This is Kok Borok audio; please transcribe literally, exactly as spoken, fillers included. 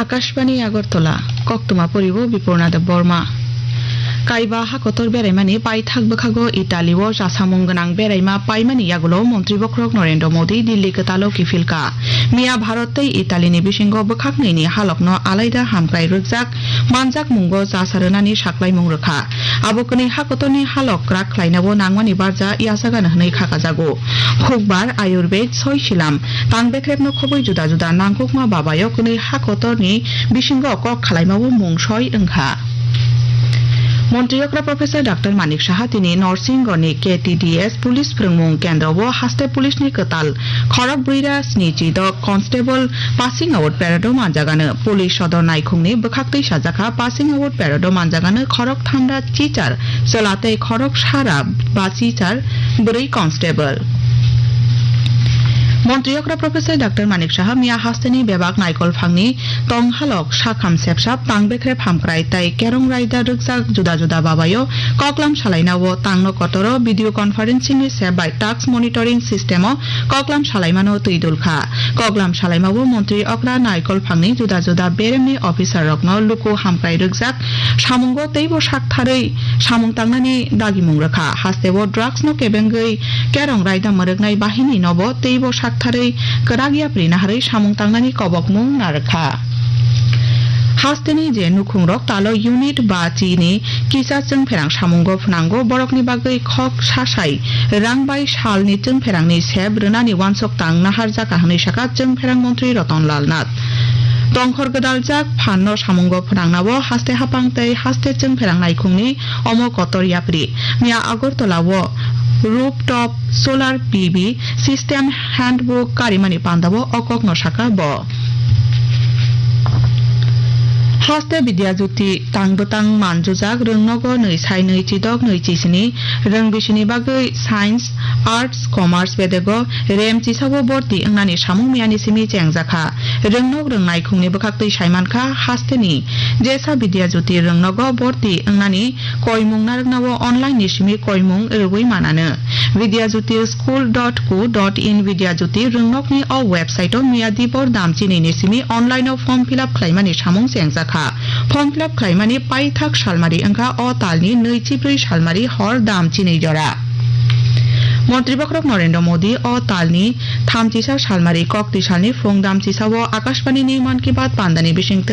Akashbani Agartala, koktwma poribo Bipurna Debbarma. Kaiba hakotor beraimani paithak bwkhago Italy o chasamung gwnang beraima paimani yagulo Montri Bokhorok Narendra Modi Delhi kwtalo kiphilka. Miya Bharat tei Italy ni bisingo bwkhaknwi ni halokno alaida hamkrai rwkjak manjakmungo chasa rwnani saklaimung rwkha. Abo kwnwi hakotorni halok kwrak khlainao nangmani barja yachagano hwnwi khakajago. Hukbar Ayurved soi silam tang bekrepno khobwi juda juda nangkukma babayo kwnwi hakotorni bisingo kok khalaimao mung soi wngkha. Montri okra Professor Doctor Manik Saha tini Norsingoni K T D S Police Phrwngmung Kendro o haste police ni kwtal khorok brwi ra sni chidok constable passing out parade o manjagano. Police sodor naikhungni bwkhaktwi sajakha passing out parade o manjagano khorok tham ra chichar chwla tei khorok sa ra ba chichar bwrwi constable. Montri okra Professor Doctor Manik Saha miya hasteni bebak naikol phangni tong halok sakham sepsap tang bekrep hamkrai tei kerong raida rwkjak juda juda babayo koklam salainao tangno kotoro video conferencing ni sep bai task monitoring system o koklam salaimano twi dulkha. Koklam salaimao montri okra naikol phangni juda juda beremni officer rokno luku hamkrai rwkjak samungo teibo saktharwi samung tangnani dagimung rwkha. Hasteo drugs no kebengwi kerong raida mwrwknai bahini nobo teibo saktharwi kwrak yapri naharwi samung tangnani kobokmung narwkha. Hasteni je nukhungrok talo unit ba chini kisa chwngpherang samungo phnango, borokni bagwi khok sasai rang bai salni chwngpherangni sep rwnani uansuk tang naharjakha hwnwi sakha chwngpherang montri Ratan Lal Nath. Tongkhor gwdaljak phanno samungo phnangnao haste haphang tei haste chwngpherang naikhungni omo kotor yapri. Miya Agartala o rooftop solar P V system handbook karimani pandao o kokno sakha bo. Haste Vidya Jyoti tang bwtang manjujak rwngnogo nwi sai nwi chidok nwi chisini rwng bisini bagwi science, arts, commerce bedego rem chisao borti wngnani samung miyani simi chengjakha. Rwngnok rwngnai khungni bwkhaktwi saimankha hasteni jesa Vidya Jyoti rwngnogo borti wngnani koimung narwknao online ni simi koimung rwui manano. Vidya Jyoti school dot co dot in Vidya Jyoti rwngnokni o website o miya dibor dam chinini simi online o form fill up khlaimani samung chengjakha. Form fill up khlaimani paithak salmari wngkha o talni nwi chibrwi salmari hor dam chinwi jora. Montri Bokhorok Narendra Modi o talni thamchisa salmari kokti salni phung dam chisao Akashbani ni Mann Ki Baat pandani bisingtwi